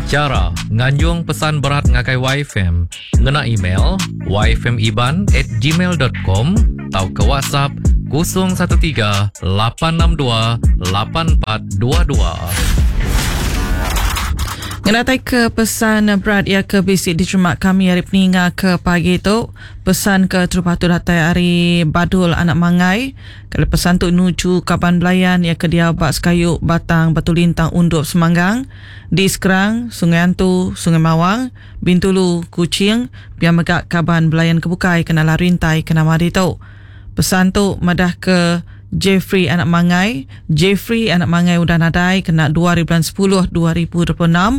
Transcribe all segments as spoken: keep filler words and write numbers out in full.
Chara nganjung pesan berat ngagai Y F M ngena email y f m iban at gmail dot com atau ke WhatsApp kosong satu tiga lapan enam dua lapan empat dua dua. Ngenatai ke pesan berat ia ke bisi diterima kami hari peninga ke pagi tu. Pesan ke terubah tu datai hari Badul Anak Mangai. Kalau pesan tu nuju kaban belayan ia ke dia bak sekayu Batang Batu Lintang Undup Semanggang di Sekerang, Sungai Antu, Sungai Mawang, Bintulu, Kuching, biar megak kaban belayan kebukai kena rintai kena mari tu. Pesan tu madah ke Jeffrey Anak Mangai. Jeffrey Anak Mangai udah nadai kena dua ribu sepuluh dua ribu dua puluh enam.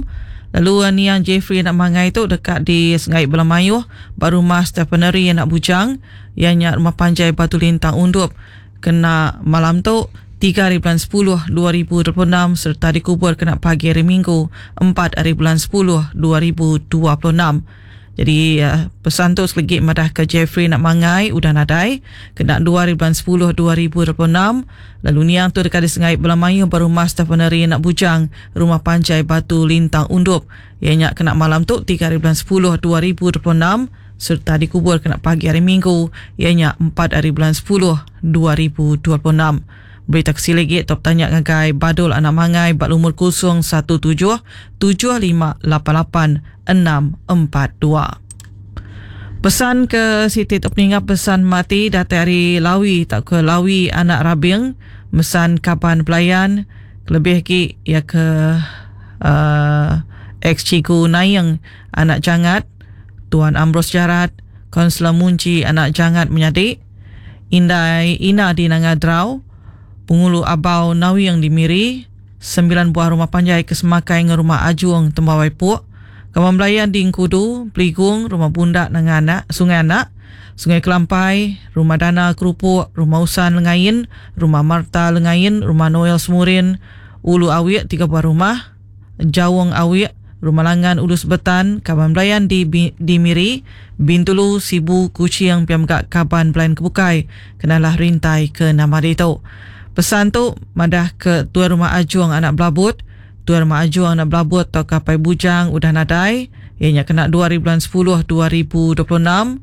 Lalu niang Jeffrey Anak Mangai tu dekat di Sungai Belamayuh, ba rumah Stephenary Anak Bujang, ianya rumah panjai Batu Lintang Undup. Kena malam tu tiga hari bulan sepuluh dua ribu dua puluh enam serta dikubur kena pagi hari Minggu empat hari bulan sepuluh dua ribu dua puluh enam. Jadi pesan tu selegi madah ke Jeffrey Nak Mangai udah nadai kena dua hari bulan sepuluh dua ribu dua puluh enam. Lalu niang tu dekat di Sungai Belamayu berumah Stephenary Nak Bujang, rumah panjai Batu Lintang Undup. Ianya kena malam tu tiga hari bulan sepuluh dua ribu dua puluh enam serta dikubur kena pagi hari Minggu ianya empat hari bulan sepuluh dua ribu dua puluh enam. Berita kesilegit top tanya ngagai Badul Anak Mangai bak lumur kosong satu tujuh tujuh lima lapan lapan enam empat dua. Pesan ke Siti Tok Peningga pesan mati datai hari Lawi tak ke Lawi Anak Rabing mesan kaban pelayan lebih ki ya ke uh, ex Cigu Nayeng Anak Jangat Tuan Ambrose Jarat Konselor Munci Anak Jangat menyadik Indai Ina di Nangadrau Pengulu Abau Nawi yang di Miri, sembilan buah rumah panjai kesemakai dengan rumah Ajuang Tembawai Puk, Kawan Belayan di Engkudu, Peligung, Rumah Bundak Nanganak, Sungai Anak, Sungai Kelampai, Rumah Dana Kerupuk, Rumah Usan Lengain, Rumah Marta Lengain, Rumah Noel Semurin, Ulu Awik tiga buah rumah, Jawong Awik, Rumah Langan Ulu Sebetan, Kaban Belayan di, di Miri, Bintulu, Sibu, Kuching, Piamgak Kaban Belayan Kebukai, kenalah rintai ke nama itu. Pesan tu madah ke tuan rumah Ajuang Anak Belabut, tuan rumah Ajuang Anak Belabut atau Kapai Bujang udah nadai, ianya kena dua ribu sepuluh dua ribu dua puluh enam.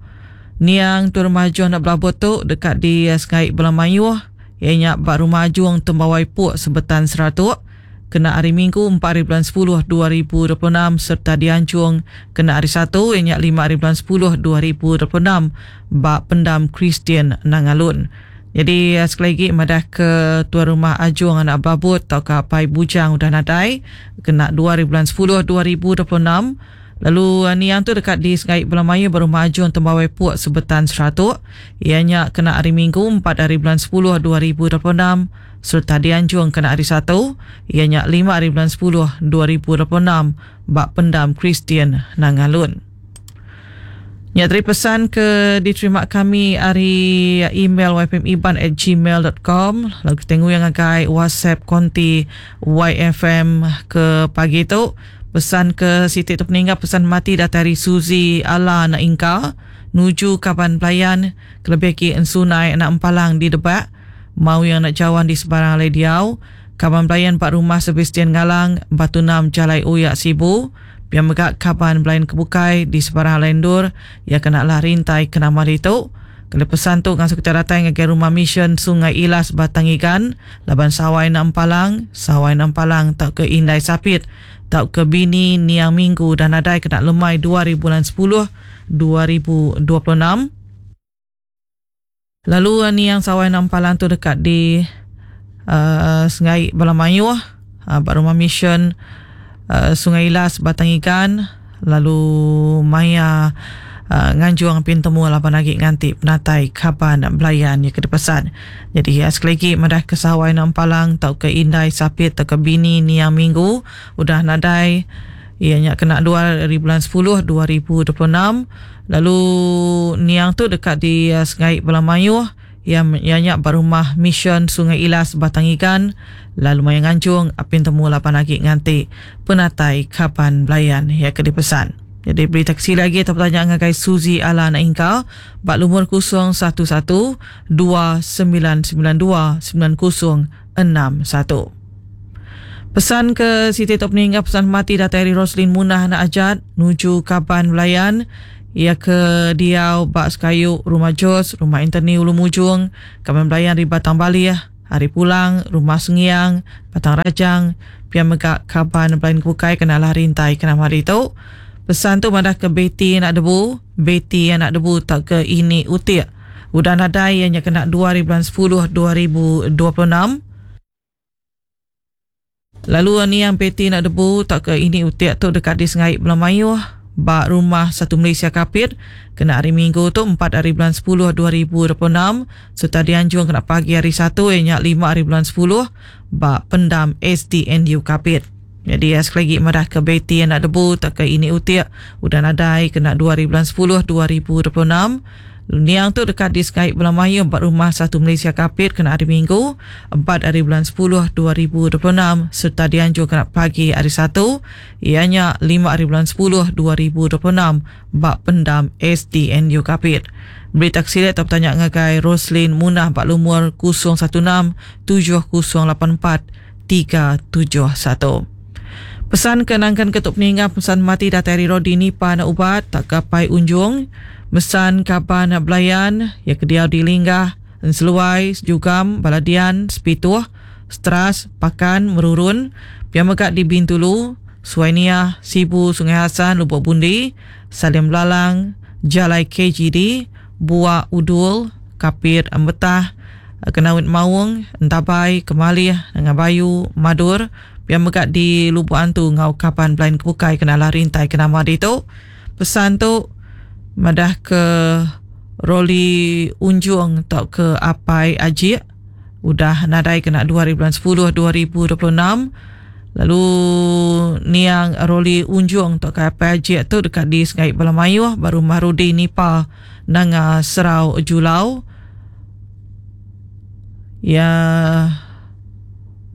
Niang tuan rumah Ajuang Anak Belabut tu dekat di Sungai Belamayuh, ianya bak rumah Ajuang Tembawai Puk Sebetan Seratuk, kena hari Minggu empat hari bulan sepuluh dua ribu dua puluh enam serta dianjung kena hari Satu ianya lima hari bulan sepuluh dua ribu dua puluh enam bak pendam Kristian Nangalun. Jadi sekali lagi madah ke tuan rumah Ajuang Anak Babut atau Kapai Bujang udah nadai kena dua hari bulan sepuluh dua ribu dua puluh enam. Lalu niang tu dekat di Sungai Belamayu berumah Ajuang Tembawai Puk Sebetan Seratuk, ianya kena hari Minggu empat hari bulan sepuluh dua ribu dua puluh enam serta dianjung kena hari Satu ianya lima hari bulan sepuluh dua ribu dua puluh enam bak pendam Kristian Nangalun. Nyatri pesan ke diterima kami hari email y f m iban at gmail dot com. Lalu kita tengok yang agai WhatsApp konti Y F M ke pagi tu. Pesan ke Siti tu peninggal pesan mati datari Suzy Ala Anak Ingka nuju kaban pelayan kelebih ki Ensunai Anak Empalang di Debak mau yang nak jawan di sebarang alai diau kaban pelayan Pak Rumah Sebastian Ngalang Batu Nam Jalai Uyak Sibu biar megak kaban belayan kebukai di sebarang lendur ya kena lah rintai kena mari tu. Kalau pesan tu ngasuh kita datang ke rumah mission Sungai Ilas Batang Igan laban Sawai Nampalang Sawai Nampalang tak ke Indai Sapit tak ke Bini Niang Minggu dan nadai kena lemai dua ribu sepuluh dua ribu dua puluh enam. Lalu Niang Sawai Nampalang tu dekat di uh, Sungai Balamayuh uh, rumah mission Uh, Sungai Ilas Batang Igan lalu maya uh, nganjuang pintemu lapan lagi nganti penatai kaban belayan ya kedepasan. Jadi ya, sekali lagi madah ke Sawai Nampalang tau ke Indai Sapit tau ke Bini Niang Minggu udah nadai ianya kena dua hari bulan sepuluh dua ribu dua puluh enam. Lalu Niang tu dekat di uh, Sungai Belamayuh yang ianya berumah mission Sungai Ilas Batang Igan lalu maya nganjung apin temu lapan lagi nganti penatai kapan belayan ya ke dipesan. Jadi berita kecil lagi atau pertanyaan ngagai Suzy Ala Anak Ingka bak lumur kosong satu satu dua sembilan sembilan dua sembilan kosong enam satu. Pesan ke Siti Tok Peningga pesan mati datai ari Roslin Munah anak Ajat nuju Kaban Belayan ia ke diau bak sekayu Rumah Jos, Rumah Anthony Ulu Mujung, Kaban Belayan di Batang Balih, Hari Pulang, Rumah Sengiang, Batang Rajang, pia mega Kaban Belayan Kebukai kenalah rintai kena hari tu. Pesan tu madah ke Betty anak debu, Betty anak debu tak ke ini utik. Udah nadai ianya kena dua hari bulan sepuluh dua ribu dua puluh enam. Lalu ni yang Betty nak debu tak ke ini utik tu dekat di Sengai Belamayuh bak rumah Satu Malaysia Kapit kena hari Minggu tu empat hari bulan sepuluh dua ribu dua puluh enam serta dianjung kena pagi hari Satu ianya lima hari bulan sepuluh bak pendam S D N U Kapit. Jadi ya, sekali lagi madah ke Betty anak debu tak ke ini utik udah nadai kena dua hari bulan sepuluh dua ribu dua puluh enam. Niang tu dekat di Sengai Belamayuh bak rumah Satu Malaysia Kapit kena hari Minggu empat hari bulan sepuluh dua ribu dua puluh enam serta dianjur kena pagi hari Satu ianya lima hari bulan sepuluh dua ribu dua puluh enam bak pendam S D N U Kapit. Berita kesilat atau bertanya ngagai Roslin Munah bak lumur kosong satu enam tujuh kosong lapan empat tiga tujuh satu. Pesan kenangkan ketuk peninggal pesan mati datai dari Rodi Nipa nak ubat tak kapai unjung. Mesan kapan nak belayan ya kediau di Linggah, Enseluai, Sejugam, Baladian, Sepituh, Stras, Pakan, Merurun, Pia Megak di Bintulu, Suainia, Sibu, Sungai Hasan, Lubuk Bundi, Salim Lalang, Jalai K G D, Buak Udul, Kapir Ambetah, Kenawit Maung, Entabai, Kemalih, Nanga Bayu, Madur, Pia Megak di Lubuk Antu, Ngau Kapan Belayan Kebukai, Kenalah Rintai, Kenama Ditu. Pesan tu madah ke Roli Unjung atau ke Apai Ajik udah nadai kena dua hari bulan sepuluh dua ribu dua puluh enam. Lalu niang Roli Unjung atau ke Apai Ajik tu dekat di Sengai Balamayuh baru Marudi Nipa Nanga Serau Julau. Ya,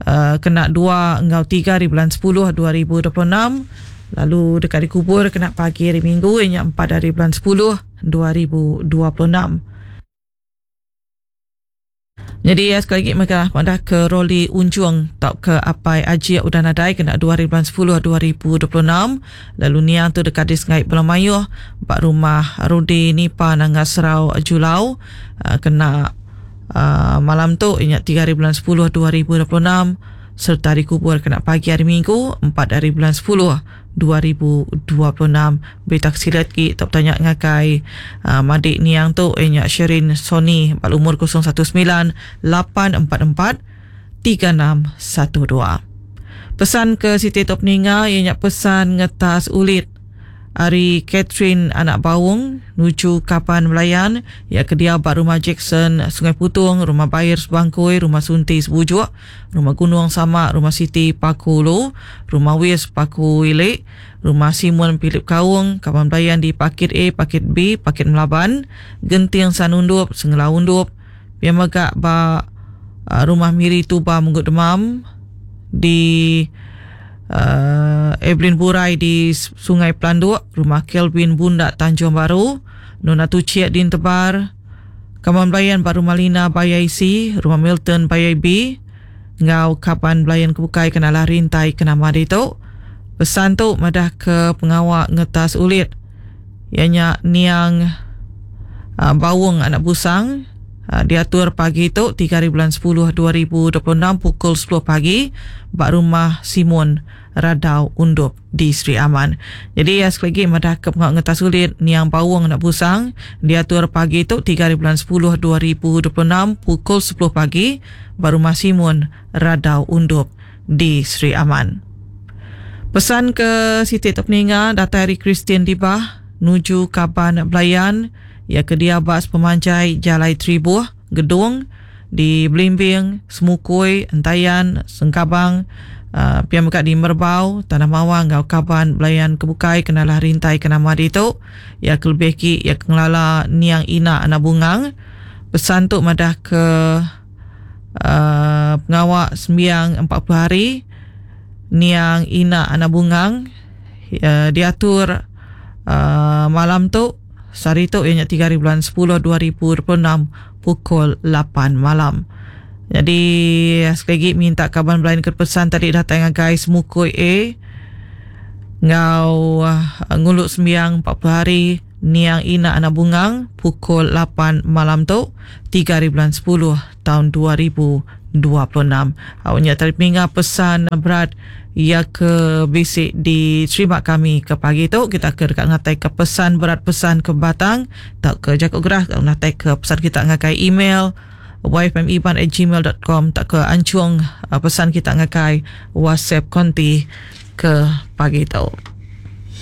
uh, kena dua engau tiga hari bulan sepuluh dua ribu dua puluh enam. Lalu dekat dikubur kena pagi hari Minggu ianya empat hari bulan sepuluh dua ribu dua puluh enam. Jadi ya, sekali lagi mereka madah ke Roli Unjung tak ke Apai Aji udah nadai kena dua hari bulan sepuluh dua ribu dua puluh enam. Lalu niang tu dekat di Sengai Belamayuh bak rumah Rudi Nipa Nanga Serau Julau, uh, kena, uh, malam tu ianya tiga hari bulan sepuluh dua ribu dua puluh enam serta dikubur kena pagi hari Minggu empat hari bulan sepuluh dua ribu dua puluh enam. Berita kesilat ki tak bertanya ngakai, uh, madik niang tu ianya Sherin Sony bal umur kosong satu sembilan lapan empat empat tiga enam satu dua. Pesan ke Siti Tok Peninga ianya pesan ngetas ulit Ari Catherine anak Bawung nuju Kapan Melayan ya ke dia bak rumah Jackson Sungai Putung, rumah Bayar Sebangkui, rumah Sunti Sebujuk, rumah Gunung Samak, rumah Siti Paku Ulu, rumah Wis Paku Ilik, rumah Simon Philip Kaung, Kapan Melayan di Pakit A, Pakit B, Pakit Melaban, Genting Sanundup, Sengela Undup, yang megak bak, uh, rumah Miri Tuba Munggut Demam di Uh, Evelyn Burai di Sungai Pelanduk, rumah Kelvin Bundak Tanjung Baru, Nona Tuciak di Tebar, Kaman Belayan Baru Malina Bayai C, rumah Milton Bayai B, ngau Kapan Belayan Kebukai kenalah rintai kenama ditu. Pesan tu madah ke pengawak ngetas ulit. Ianya niang, uh, Bawung anak Busang. Uh, diatur pagi tu tiga hari bulan sepuluh dua ribu dua puluh enam pukul sepuluh pagi bak rumah Simon Radau Undup di Sri Aman. Jadi ya, sekali lagi madah ke pengawak ngetas ulit niang Bawung anak Busang diatur pagi tu tiga hari bulan sepuluh dua ribu dua puluh enam pukul sepuluh pagi bak rumah Simon Radau Undup di Sri Aman. Pesan ke Siti Tok Peninga datai dari Christian Dibah nuju Kaban Belayan ya ke dia bas pemanjai Jalai Tribuh Gedung di Belimbing, Semukui, Entayan, Sengkabang, uh, pihak mekat di Merbau, Tanah Mawang, Ngau Kaban, Belayan Kebukai, Kenalah Rintai, Kenama Ditu, ya ke lebih ki, ya ke ngelala Niang Ina Anak Bungang. Pesan tu madah ke, uh, pengawak sembiang empat puluh hari Niang Ina Anak Bungang, ya, diatur, uh, malam tu sehari tu ianya tiga hari bulan sepuluh dua ribu dua puluh enam pukul lapan malam. Jadi sekali lagi minta kaban belayan ke pesan tadi datang ngagai Semukui A ngau uh, nguluk sembiang empat puluh hari Niang Ina Anak Bungang pukul lapan malam tu tiga hari bulan sepuluh tahun dua ribu dua puluh enam. Awaknya tadi pinga pesan berat ia ke bisik diterima kami ke pagi tu. Kita ke dekat ngatai ke pesan berat pesan ke batang tak ke jakuk gerah ngatai ke pesan kita ngakai email y f m iban at gmail dot com tak ke ancung pesan kita ngakai WhatsApp konti ke pagi tu.